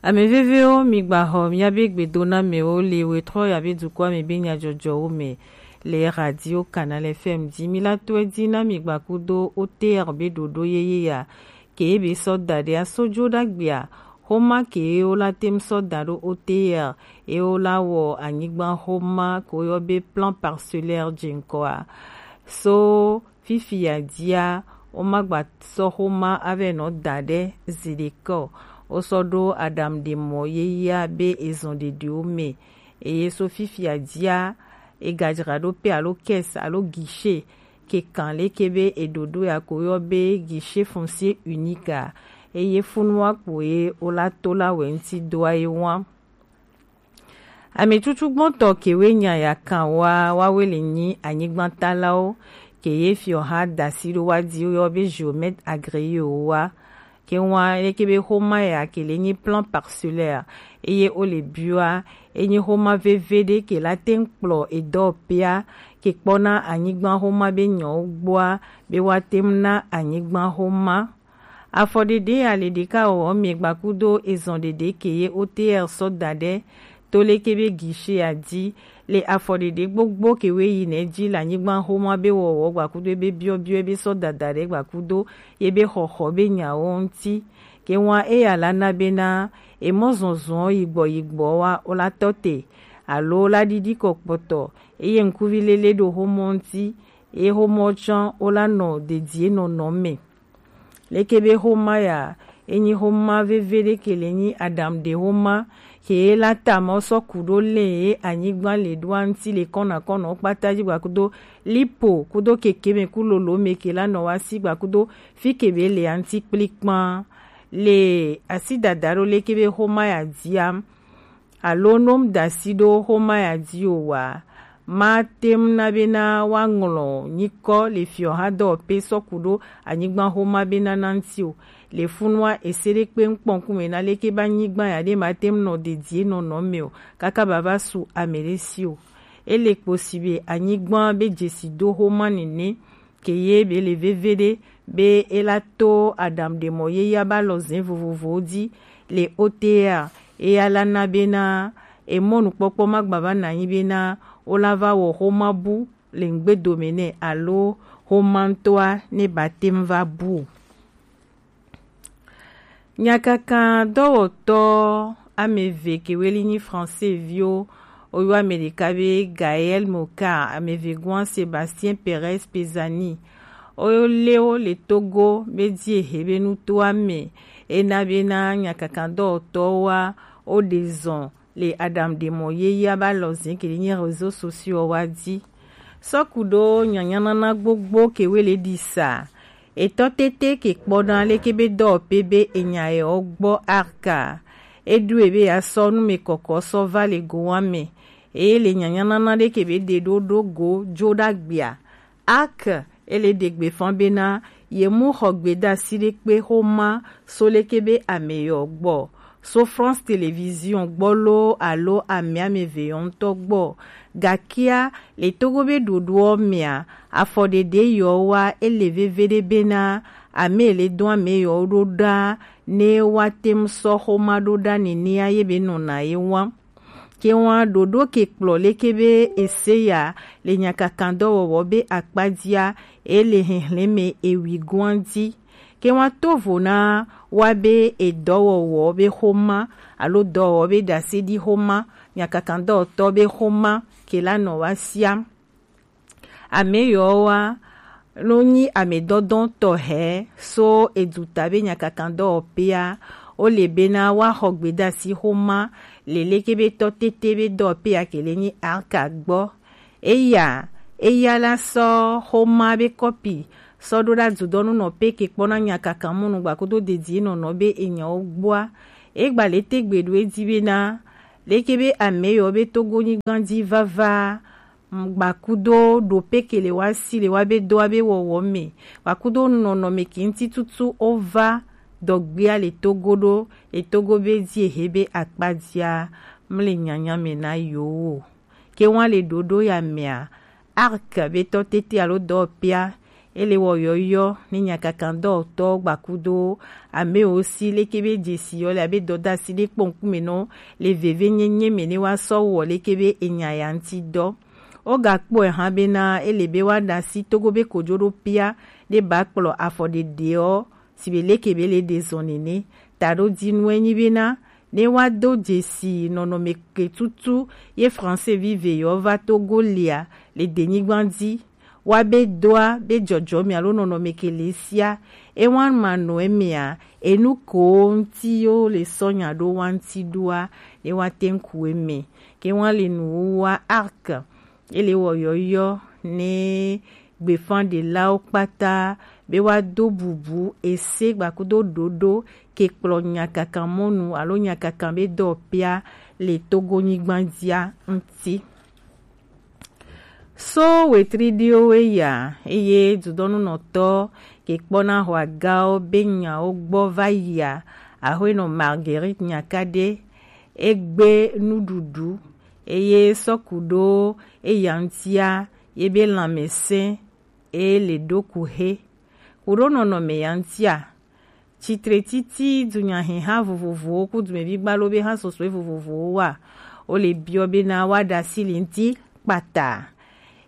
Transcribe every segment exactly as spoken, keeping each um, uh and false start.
Ame vevewo, mi gba xɔ miabe gbedonamewo le wetrɔ yabe dukɔa me be nyajɔjɔwo me le Radio Canal F M dzi. Mi la tɔe dzi na mi gba kudo O T R be ɖoɖo yeye ya ke be sɔ da ɖe aso jo ɖagbea. Xoma ke wo la tem sɔ da ɖo O T R, e wo la wɔ anyigba xoma ko yɔ be plan parcellaire dze ŋkɔa. So fifi ya dzia, wo ma gba sɔ xoma ave nɔ da ɖe zi ɖekɔ. Wo sɔ ɖo aɖaŋuɖemɔ yeyea be ezɔn ɖeɖewo me. Eye so fifi ya dzia, e gadzra ɖo pe alo caisse alo guichet ke kan leke be e ɖoɖo ya ko yɔ be guichet foncier unique a. Eye funua kpo ye wo la to la wɛ ŋuti doa ye wa. Ametsutsu gbɔntɔ kewe nya ya kan wa wawe le nyi anyigbantalawo ke ye fiɔ ha dasi ɖo wa di yɔ be géomètre agréé o wa. Ke wa leke be xoma ya ke le nyi plan parcellaire eye wo le bua enyi xoma veve ɖe ke la teŋ kplɔ edɔ pea ke kpɔna anyigba xoma be nyɔwo gbɔa be wa teŋ na anyigba xoma. Afɔɖeɖe ya le ɖeka wɔwɔ me gbakudo ezɔn ɖeɖe ke ye O T R sɔ da ɖe to leke be guichet ya di. Le afɔɖeɖe gbogbo ke we yi nɛ dzi le anyigba xoma be wɔwɔ gbakudo be biɔbiɔ be sɔ dada ɖe gbakudo ye be xɔxɔ be nyawo ŋuti. Ke wa eya la na bena emɔ zɔnzɔn yigbɔ yigbɔ wa wo la tɔ te alo wo la ɖiɖi kɔ kpɔtɔ eye ŋkuvi lele ɖo xomɔ ŋuti eye xomɔ tsɔ wo la nɔ dedie nɔnɔ me. Leke be xoma ya enyi xoma veve ɖe ke le nyi aɖaŋuɖe xoma ke ye la ta mɔ sɔ ku ɖo le ye anyigba le ɖoa ŋuti le kɔna kɔnɔ kpata dzi gbakudo lipo kudo keke me ku lolo me ke la nɔ wa si gbakudo fi ke be le aŋuti kplikpan le asi dada ɖo leke be xoma ya dia alo no mu da asi ɖo xoma ya di o wa. Ma teŋ na bena wa ŋlɔ nyikɔ le fiɔ ha dɔwɔpe sɔ ku ɖo anyigba xoma bena na ŋuti o. Le funua ese ɖe kpe ŋkpɔn kume na leke be anyigba ya ɖe ma teŋ nɔ dedie nɔnɔ me o kaka ba va su ame ɖe si o. Ele kpo si be anyigba be dzesi do xoma nene ke ye be le veve ɖe be e la to aɖaŋuɖemɔ yeyea be alɔze vovovowo dzi le O T R. Eya la na bena emɔnukpɔkpɔ ma gba va na anyi bena wo la va wɔ xoma bu le ŋgbedome nɛ alo xoma ŋutɔa ne ba teŋ va bu o. Nyakaka dɔwɔtɔ ame eve kewe li nyi Français viwo, woyɔ ame ɖeka be Gaël Mokar, ame evegɔa Sébastien Perez Pezani. Wolé wo le Togo be dzi ehe be nutoa me ena bena nyakaka dɔwɔtɔwoa woɖe zɔn le aɖaŋuɖemɔ yeyea be alɔze ke le nyi réseaux sociaux wa dzi. Sɔku ɖo nyanyanana gbogbo ke we le ɖi sa. Etɔ tete ke kpɔna leke be dɔwɔpe be enya yɔ gbɔ arka. Eɖu ebe ya sɔ nu me kɔkɔ sɔ va le gowa me. Eye le nyanyanana ɖe ke be ɖe ɖo ɖo go jo ɖagbea. Arc ele ɖe gbe fan bena ye mu xɔ gbedasi ɖe kpe xoma so leke be ame yɔ gbɔ. So France Télévision gbɔ lo alo ame ame eve yɔ ŋutɔ gbɔ. Gakia le Togo be ɖoɖoɔ mea, afɔɖeɖe yɔ wa ele veve ɖe bena ame le dɔn ame yɔ ɖo ɖa ne wa tem sɔ xoma ɖo ɖa nenea ye be nɔna ye wa. Ke wa ɖoɖo ke kplɔ leke be ese ya le nyakakan dɔwɔwɔ be akpadzia ele hehleme ewi goa dzi. Ke wa to vo na wa be edɔwɔwɔ be xoma alo dɔwɔwɔ be ɖase ɖi xoma, nyakakan dɔwɔtɔ be xoma ke la nɔ wa sia. Ame yɔ wa no nyi ame dɔdɔn tɔhɛ so eduta be nyakakan dɔwɔpea, wo le bena wa xɔ gbedasi xoma le leke be tɔ tete be dɔwɔpea ke le nyi arka gbɔ. Eya, eya la sɔ xoma be kɔpi sɔ ɖo ɖa dudɔnu nɔ pe ke kpɔna nyakakan mɔnu gbakudo dedie nɔnɔ be enyawo gbɔa. Egba le te gbe ɖo edzi bena leke be ame yɔ be Togo nyigba dzi vava gbakudo ɖope ke le wa si le wa be do wa be wɔwɔ me, gbakudo nɔnɔme ke ŋuti tutu wo va dɔgbea le Togo ɖo, le Togo be dzi ehe be akpadzia mle nyanya me na yewo o. Ke wa le ɖoɖo ya mea, arc be tɔ tete alo dɔwɔpea, Ele wɔ yɔyɔ ne nyakakandɔtɔ gbakudo amewo si leke be jesi yɔ le abe dɔdasi ɖe kpɔ ŋkume nɔ le veve nyenye me ne wa sɔ wɔ leke be enya ya ŋuti dɔ. Wogakpɔe hã bena ele be woaɖe asi Togo be kojoɖopia ɖe ba kplɔ afɔ ɖeɖeɔ si be leke be le ɖe zɔ nene. Taɖodzinue nyi bena ne woado dzesi nɔnɔme ke tutu ye Français vive yewo va Togo lia le denyigba dzi, woabe doa be dzɔdzɔme alo nɔnɔme ke le sia, ewan manɔ emea, enu ko ŋuti yo le sɔ nya ɖo wa ŋuti ɖoa, ne woate ŋu ku eme. Ke wan le nuwuwa arc, ele wɔ yɔyɔ ne gbefãɖelawo kpata be woado bubu ese gbakudo ɖoɖo ke kplɔ nyakakan mɔnu alo nyakakan be dɔpia le Togo nyigba dzia ŋuti. So wetri ɖiwo we ya, eye dudɔnunɔtɔ ke kpɔna hɔagawo be nyawo gbɔ va yia, Ahuenɔ Marguerite Nyakade, egbe nuɖuɖu eye sɔku ɖo eya ŋutia ye be lãmesẽ e le ɖo ku he. Ku ɖo nɔnɔme ya ŋutia, tsitre titi dunyahiha vovovowo ku dumevi gbalo be hã sɔsɔe vovovowo wa, wo le biɔ bena woaɖe asi li ŋuti kpata.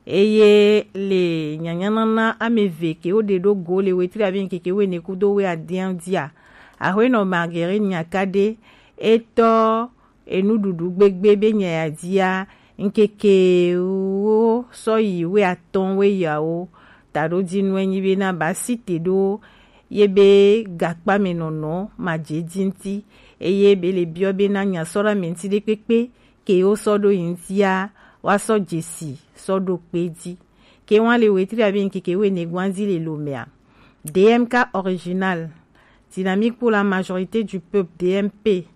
Eye le nyanyanana ame eve ke wo ɖe ɖo go le wetri abe ŋkeke wene kudo we adia dzia, Ahuenɔ Marguerite Nyakade etɔ enuɖuɖu gbegbe be nya ya dzia, ŋkeke wo sɔ yi we atɔ̃ we yawo. Taɖodzinue nyi bena ba si te ɖo ye be gakpamenɔnɔ madze dzi ŋuti, eye be le biɔ bena nya sɔ ɖe ame ŋuti ɖekpekpe ke wo sɔ ɖo yi ŋutia, woasɔ dzesi sɔ ɖo kpe dzi. Ke wan le wetri abe ŋkeke wene gban dzi le lomea, D M K original, Dynamique pour la majorité du peuple, D M P,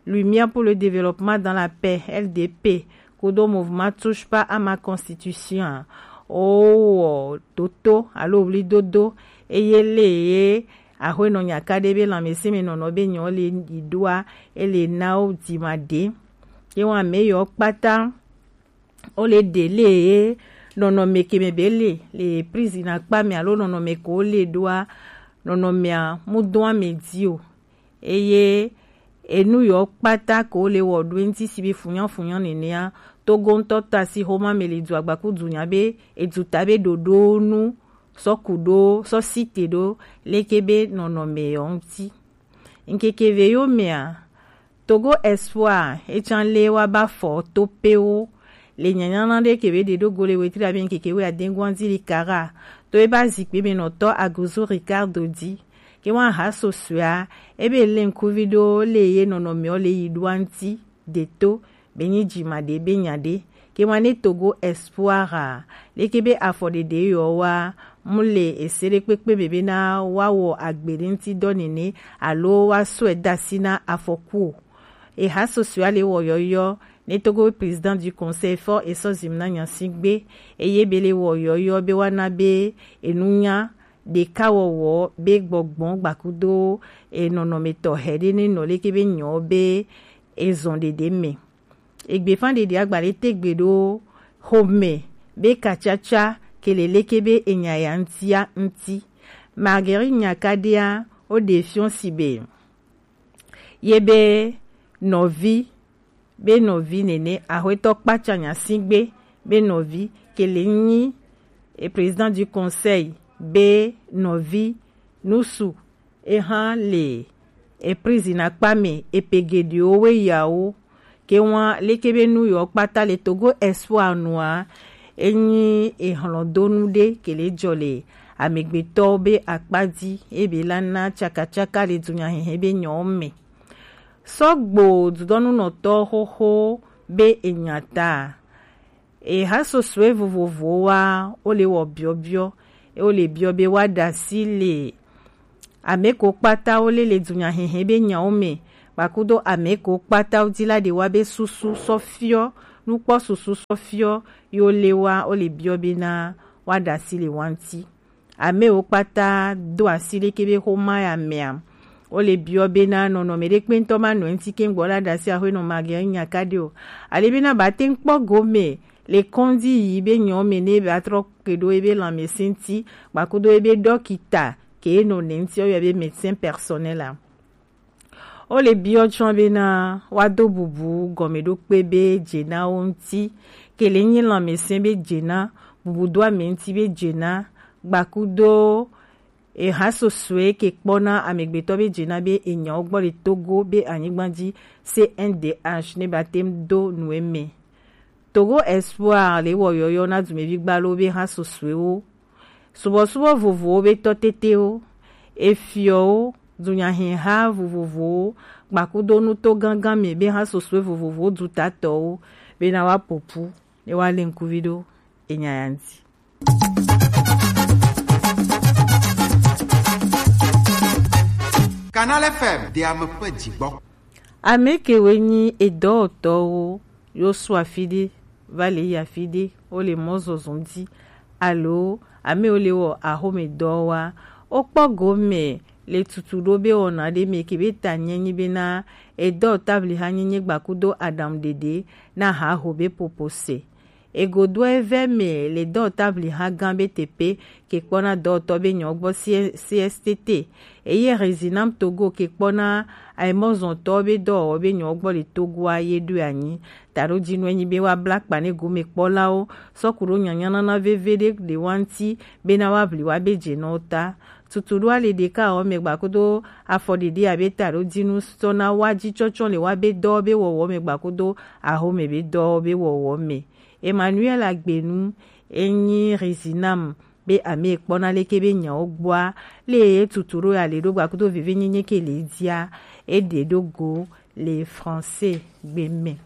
Lumière pour le développement dans la paix, L D P, kudo mouvement Touche pas à ma constitution, o toto alo wli dodo, eye le ye Ahuenɔ Nyakade be lãmesẽ me nɔnɔ be nyɔ le yi ɖoa, ele na wo dima ɖe. Ye wan me yɔ kpata wo le ɖe le ye nɔnɔme ke me be le, le prison akpa me alo nɔnɔme ko le ɖoa, nɔnɔmea mu dɔn ame dzi o. Eye enu yɔ kpata ko le wɔ ɖo ŋuti si be funyafunya nenea, Togo ŋutɔ ta si xoma me le du agbaku du nya be edu ta be ɖoɖo nu sɔ ku ɖo sɔ si te ɖo leke be nɔnɔme yɔ ŋuti. Ŋkeke ve yo mea, Togo Espoir etsã le wa ba fɔ to pewo le nyanyana ɖe ke be ɖe ɖo go le wetri abe ŋkeke we adeŋgwan dzi li kara to ebe azikpe me nɔtɔ Aguzu Ricardo dzi. Ke wan ha sosɔa ebe le ŋkuvi ɖo le ye nɔnɔmeɔ le yi ɖoa ŋuti de to be nyi dzima ɖe be nya ɖe. Ke wan ne Togo Espoir a leke be afɔ ɖeɖe yɔ wa mu le ese ɖe kpekpe be bena wa wɔ agbe ɖe ŋuti dɔ nene alo wa sɔe da si na afɔku o. Eha sosɔa le wɔ yɔyɔ ne Togo président du conseil fɔ esɔ zim na nya si gbe, eye be le wɔ yɔyɔ be wa na be enunya ɖeka wɔwɔ be gbɔgbɔn gbakudo enɔnɔmetɔ hɛ ɖe ne nɔ leke be nyɔ be ezɔn ɖeɖe me. Egbefa ɖeɖe agba ɖe tegbe ɖo xome be katsatsa ke le leke be enya ya ŋutia ŋuti. Marguerite Nyakadea wo ɖe fiɔ si be ye be nɔvi be nɔvi nene, axwetɔ kpatsa nya si gbe be nɔvi ke le nyi e président du conseil be nɔvi nusu eha le e prison akpa me epe geɖewo we yawo ke wan leke be nu yɔ kpata le Togo Espoir nua enyi ehlɔdonu ɖe ke le jɔ le amegbetɔwo be akpa dzi ebe la na tsakatsaka le dunyahehe be nyɔwo me. Sɔgbo dudɔnunɔtɔ xoxo be enya ta. Eha sosɔe vovovowo wa wo le wɔ biɔbiɔ, wo le biɔ be wa ɖe asi le ame ko kpata wo le le dunyahehe be nyawo me, kpakudo ame ko kpata wo di la ɖe wa be susu sɔ fiɔ, nukpɔ susu sɔ fiɔ, yo le wa wo le biɔ be na wa ɖe asi le wa ŋuti. Amewo kpata do asi leke be xoma ya mea. Wo le biɔ be na nɔnɔme ɖe kpe ŋutɔ ma nɔ ŋuti ke ŋgbɔ la ɖe asi axwe nɔ mage nya ka ɖe o. Ale be na ba te ŋkpɔ gome le kɔndi yi be nyɔ me ne ba trɔ ke ɖo ebe lanmɛsɛn ti gbakudo ebe dɔkita ke no ne ŋti o yɔ be médecin personnel a. O le biɔ tsɔ bena wa do bubu gɔmeɖokpe be jena wo ŋti ke le nyi lanmɛsɛn be jena bubu do ame ŋti be jena gbakudo eha sosoe ke kpɔna amegbetɔ be jena be enyawo gbɔ le Togo be anyigba ji C N D H ne ba tem do nu eme. Togo Espoir le wɔ yɔyɔ na dumevi gbalo be ha sosoewo subɔsubɔ vovowo be tɔ tetewo, efiɔwo, dunyahiha vovovowo gbakudo nuto gangan me be ha sosoe vovovowo dutatɔwo bena wa popu ne wa le ŋkuvi ɖo enya ya ŋti. Canal F M de ame ƒe dzigbɔ. Ame kewoe nyi edɔwɔtɔwo yo su afi ɖe va le yi afi ɖe wo le mɔ zɔzɔm di alo ame wo le wɔ axome dɔ wa wo kpɔ gome le tutu ɖo be wɔna ɖe me ke be ta nye nyi bena edɔ tabli ha nyenye gbakudo aɖaŋu ɖeɖe na haho be popo se. Egodoa evɛ me le dɔwɔta vliha gã be teƒe ke kpɔna dɔwɔtɔ be nyɔwo gbɔ C S T T. Eye Rezinam Togo ke kpɔna ayemɔzɔntɔwo be dɔwɔwɔ be nyɔwo gbɔ le Togoa ye ɖoe anyi. Taɖodzinue nyi be woabla akpa ne gomekpɔlawo sɔ ku ɖo nyanyanana veve ɖe ɖewoa ŋuti bena woaʋli woabe dzenɔwo ta. Tutuɖoa le ɖekawɔwɔ me gbakudo afɔɖeɖe abe taɖodzinu sɔ na woa dzi tsɔtsɔ le woabe dɔwo be wɔwɔ me gbakudo ahome be dɔwo be wɔwɔ me. Emmanuel Agbenu enyi Rizinam be ame kpɔna leke be nyawo gbɔa le ye tutu ɖo ya le ɖo gbakudo veve nyenye ke le dzia eɖe ɖo go le français gbe me.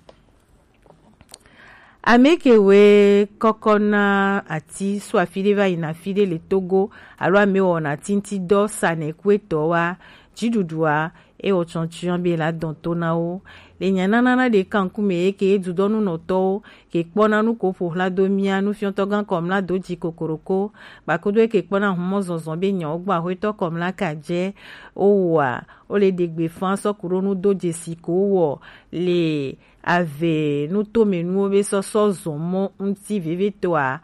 Ame ke we kɔkɔ na ati so afi ɖe va yina afi ɖe le Togo alo ame wɔna tinti dɔ sa ne kuetɔ wa dziɖuɖua ewɔ tsɔntsɔn be la dɔn to na wo. Le nyananana ɖe kankume ye ke dudɔnunɔtɔwo ke kpɔna nu ko ƒo hla do mia nufiɔtɔ gã kɔmla do dzi kokoroko gbakodo ye ke kpɔna humɔ zɔzɔ be nyawo gbɔ ahwetɔ kɔmla ka dze wo wɔa wo le ɖe gbe fa sɔ ku ɖo nu do dzesi ko wɔ le ave nutomenuwo be sɔsɔ zɔn mɔ ŋuti vevitɔa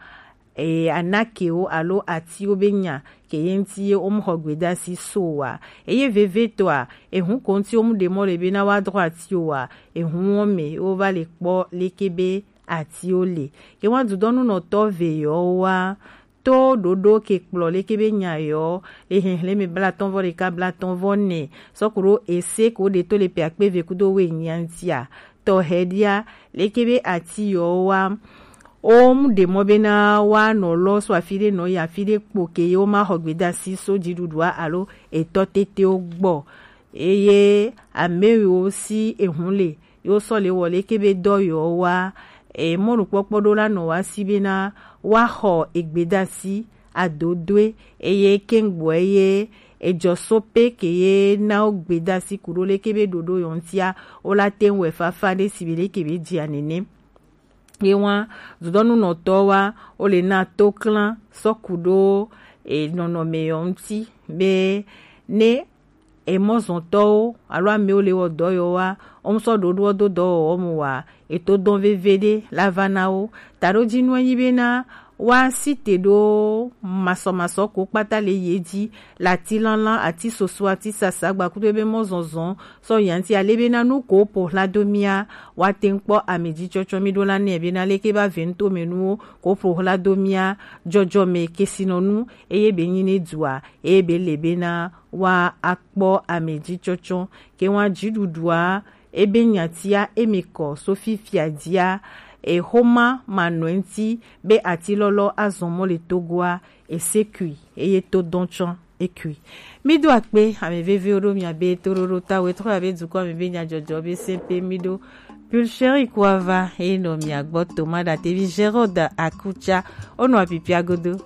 eye anakewo alo atiwo be nya ke ye ŋuti ye wo mu xɔ gbedasi so wa. Eye vevitɔa ehu ko ŋuti wo mu ɖe mɔ le be na wa drɔ atiwo wa. Ehu wo me wo va le kpɔ leke be atiwo le. Ke wa dudɔnunɔtɔ ve yɔ wa to ɖoɖo ke kplɔ leke be nya yɔ le hehleme blatɔn vɔ ɖeka blatɔn vɔ nɛ sɔ ku ɖo ese ko ɖe to le pe akpe ve kudo we nyia ŋutia. Tɔxɛ ɖia leke be ati yɔwo wa wo mu ɖe mɔ bena wa nɔ lɔ so afi ɖe nɔ yi afi ɖe kpo ke ye wo ma xɔ gbedasi so dziɖuɖua alo etɔ tetewo gbɔ. Eye ame yiwo si ehu le yewo sɔ le wɔ leke be dɔ yewo wa e mɔnukpɔkpɔ ɖo la nɔ wa si bena wa xɔ egbedasi adodoe eye kengboɛ ye ejɔ so pe ke ye na wo gbedasi ku ɖo leke be ɖoɖo yɔ ŋutia wo la te ŋu wɛ fafa ɖe si be leke be dzia nene. Ye wa dudɔnunɔtɔ wa wo le na to klan sɔ ku ɖo e nɔnɔme yɔ ŋuti be ne emɔzɔntɔwo alo amewo le wɔ dɔ yewo wa wo ŋu sɔ ɖoɖoɔ do dɔwɔwɔ mu wa eto dɔn veve ɖe la va na wo. Taɖodzinue nyi bena wa si te ɖo masɔmasɔ ko kpata le ye dzi le ati lanlan ati soso ati sasa gbakudo ebe mɔzɔzɔ sɔ yanti ale bena nu ko ƒo hla do mia wa te ŋu kpɔ ame dzi tsɔtsɔ mi ɖo la nɛ bena leke ba ve ŋuto me nuwo ko ƒo hla do mia dzɔdzɔme kesinɔnu eye be nyi ne dua eye be le bena wa akpɔ ame dzi tsɔtsɔ ke wa dziɖuɖua ebe nyatia eme kɔ so fifia dzia exoma manɔe ŋuti be ati lɔlɔ azɔ mɔ le Togoa esekui eye to dɔn tsɔ ekui. Mi do akpe ame vevewo ɖo mia be toɖoɖo ta we trɔ abe dukɔ ame be nyadzɔdzɔ be se pe mi ɖo. Pulcheri kuava eye nɔ mia gbɔ to ma ɖa tevi Gérard Akutsa wonɔ apipia godo.